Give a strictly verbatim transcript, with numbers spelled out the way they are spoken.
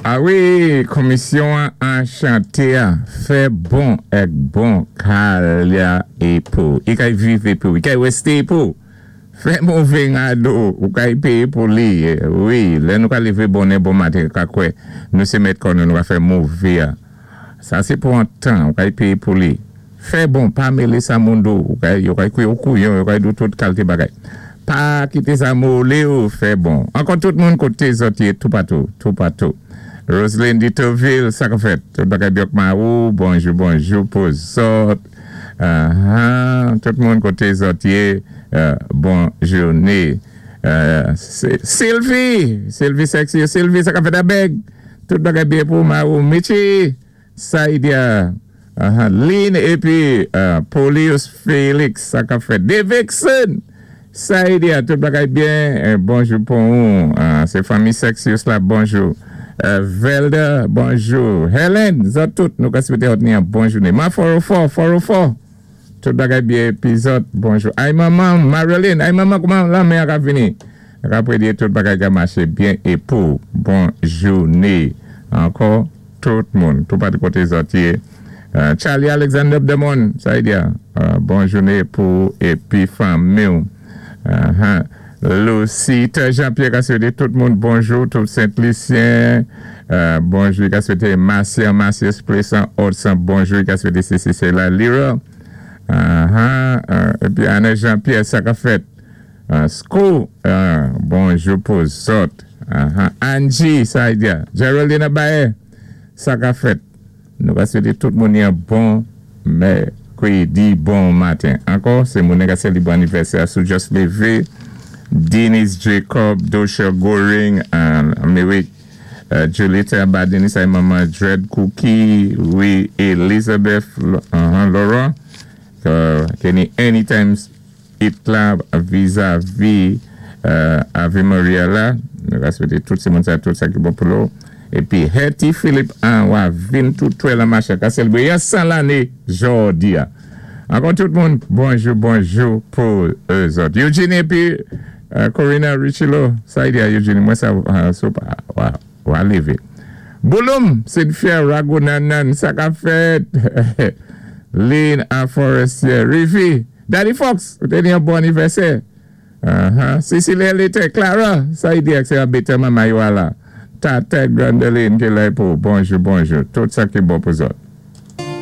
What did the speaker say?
A wi, Komisyon Anchantè fè bon èk bon ka la é pou. I kay viv é pou. I kay wésté pou. Fè mové ngado, ou kay péyé pou li. Wi, lè nou ka lévé bonnè bon maten, ka kwè, nou sé mèt kò nou, nou ka fè mové a. Sa sé pou an tan, ou kay péyé pou li. Fè bon, pa mélé sa moun di ou, kay, yo kay kwiyé ou kouyon, yo kay di ou tout kalité bagay. Pa kité sa molé ou, fè bon. Ankò tout moun koté zòt yé, toupatou, toupatou. Roselyne Ditoville, sa ka fèt. Tout bagay byen ma ou, bonjou, bonjou pou zòt. Uh-huh. Tout moun koté zòt yé, euh, bon jouné. Euh, Sylvie, Sylvie sexy, Sylvie, sa ka fèt abèg. Tout bagay byen pou ma ou. Michi, Saidia, uh-huh. Lynn épi uh, Polius Félix, sa ka fèt. Davidson, Saidia, tout bagay byen. Euh, bonjou pou ou. Uh, sé fanmi Sexius la, bonjou. Euh, Velda, bonjou. Helen, zòt tout, nou ka swété ni yon bon jouné. Ma four oh four, four oh four. Tout bagay byen, pi zòt, bonjou. Ay manman, Marilyn, ay manman, kouman lanmè a vini? Apwé di tout bagay ka maché byen é pou bon jouné. Ankò, tout moun, toupatou koté zòt yé. Euh, Charlie Alexander Demon, sa y a, euh, bon jouné pou épi fanmi. Uh -huh. Lucita Jean-Pierre ka swété tout moun bonjou, tout Saint-Lucien, euh, bonjou, ka swété Marcia, Marcia Plaisant, Odson, bonjou, ka swété C C C la Lira, uh -huh. euh, épi Anna Jean-Pierre, sa ka fèt, uh, School, uh, bonjou pou zòt, uh -huh. Angie, sa y a, Geraldine Abaye, sa ka fèt, nou ka swété tout moun yon bon mèkwédi, bon maten. Ankò, sé moun ka sélébwé anivèsè sou just lévé, Denise Jacob, Dosha Goring, uh, Merrick, uh, Julieta Badini, sa manman Dread Cookie, wi, Elizabeth uh, Laurent, uh, Kenny Anytime Itla vis-à-vis uh, Ave Maria la, nou ka swété tout sé moun sa, tout sa ki bon pou lò. Épi Hetty Philippe an wa vin tout twè la macha ka sélébwé yon san lanné jòdi a. Ankò tout moun, bonjou, bonjou pou zòt. Eugene épi uh, Corina Richilo, sa y a Eugene, mwen sa uh, sou pa, wa, wa lévé. Bouloum, Cynthia Ragunanan, sa ka fèt. Lynn a Forestier, Rivi, Daddy Fox, ou té ni yon bon anivèsè. Uh-huh. Cecilia Lete, Clara, sa y di ak sé a bete mama yo la. Tata Grandeline ki la pou, bonjou, bonjou. Tout sa ki bon pou zòt.